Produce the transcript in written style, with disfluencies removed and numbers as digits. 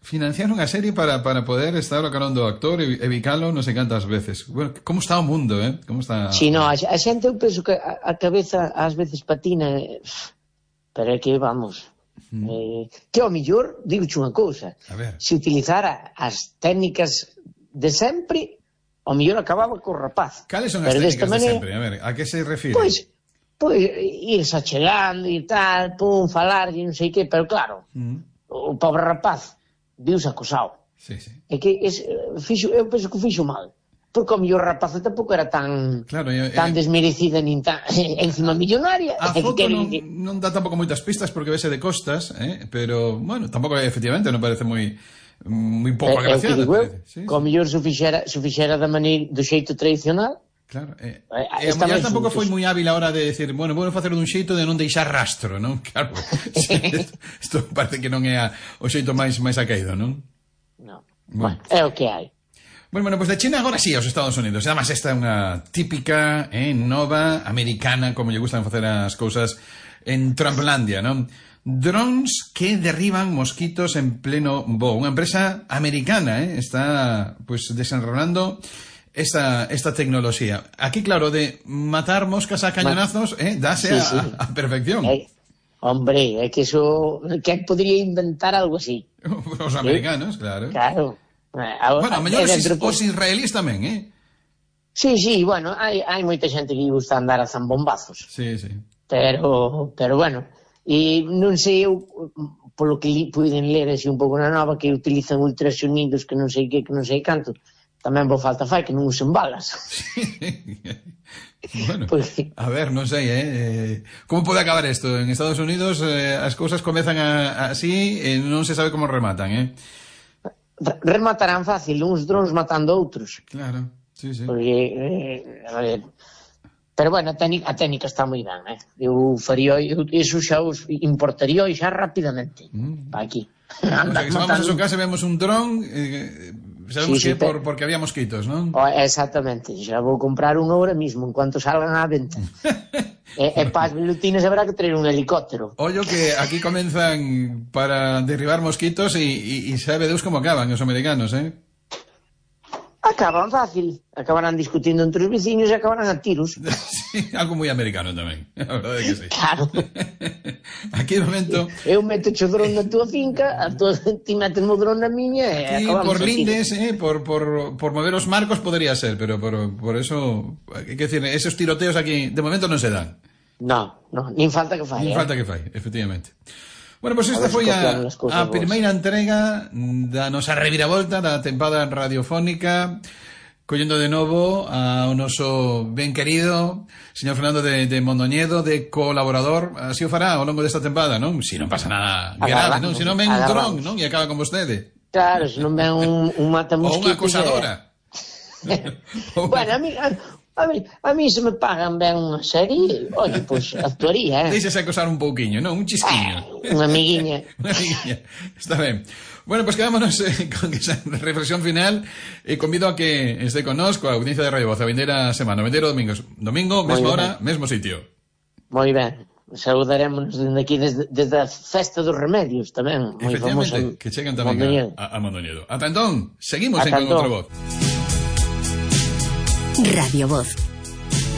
financiaron a serie para poder estar o carón do actor e bicalo non sei cantas veces. Bueno, como está o mundo, Como está... Si, no, a xente, eu penso que a cabeza ás veces patina, pero é que, vamos, que ao millor, digo unha cousa, se utilizara as técnicas de sempre, ao millor acababa co rapaz. Cales son as técnicas de sempre? A ver, a que se refire? Pois, irse achegando e tal, falar e non sei que, pero claro, o pobre rapaz viuse acosado. Sí. É que eu penso que fixo mal. Porque o mellor rapaz tampouco era tan desmerecida nin tan encima millonaria. A foto non dá tampouco moitas pistas porque vese de costas, pero, bueno, tampouco efectivamente non parece moi pouco agraciada. O mellor se fixera do xeito tradicional. Claro, a muller tampouco foi moi hábil a hora de decir, bueno, vou facer dun xeito de non deixar rastro, non? Claro, isto parece que non é o xeito máis acaído, non? Non, bueno, é o que hai. Bueno, pues de China agora sí aos Estados Unidos. Además, esta é unha típica, nova, americana, como lle gustan facer as cousas en Trumplandia, non? Drones que derriban mosquitos en pleno voo. Unha empresa americana, está, pues, desenrolando esta tecnoloxía. Aquí, claro, de matar moscas a cañonazos, dáse a perfección. Hombre, é que eso... Que podría inventar algo así? Os americanos, claro. Claro. Bueno, a mellor os israelíes tamén, Sí, bueno, hai moita xente que gusta andar a zambombazos. Sí. Pero bueno, e non sei eu, polo que puiden ler así un pouco na nova, que utilizan ultrasonidos que non sei que non sei canto. Tamén vos falta que non usen balas. Bueno, a ver, non sei, como pode acabar isto? En Estados Unidos as cousas comezan así e non se sabe como rematan, Rematarán fácil, uns drones matando outros. Claro, sí. Porque, a ver... Pero bueno, a técnica está moi ben, Eu faría, iso xa os importaría xa rapidamente. Para aquí. O sea, que se vamos a su casa e vemos un dron... Sabemos que porque había mosquitos, non? Exactamente, xa vou comprar un ahora mismo en cuanto salgan á venta. E para as velutinas habrá que traer un helicóptero. Ollo que aquí comenzan para derribar mosquitos e sabe Deus como acaban os americanos, Acaban fácil, acabarán discutindo entre os veciños e acabarán a tiros. Sí, algo moi americano tamén, a verdade que sí. Claro. Aquí de momento... Eu meto o dron na túa finca, ti metes o dron na miña e acabamos por lindes, por mover os marcos podría ser, pero por eso, que decir, esos tiroteos aquí de momento non se dan. No, nin falta que fai. Nin falta que fai, efectivamente. Bueno, pois esta foi a primeira entrega da nosa reviravolta da tempada radiofónica, collendo de novo ao noso ben querido señor Fernando de Mondoñedo, de colaborador. Así o fará ao longo desta tempada, non? Si non pasa nada grave, non? Si non ven un dron, non? E acaba con vostede. Claro, se non ven un matamosquitos. Ou unha acosadora. Bueno, a mí se me pagan ben unha serie, oye, pois actuaría, Deixase acosar un pouquiño, non? Un chisquiño. Unha amiguiña. Está ben. Bueno, pues quedámonos con esa reflexión final e convido a que esté connosco a audiencia de Radio Voz a vindeira semana, vindeiro domingo, mesma hora, mesmo sitio. Moi ben. Saludaremos desde aquí, desde a Festa dos Remedios tamén. Efectivamente, que chegan tamén a Mondoñedo. Ata entón, seguimos en Con Outra Voz. Radio Voz.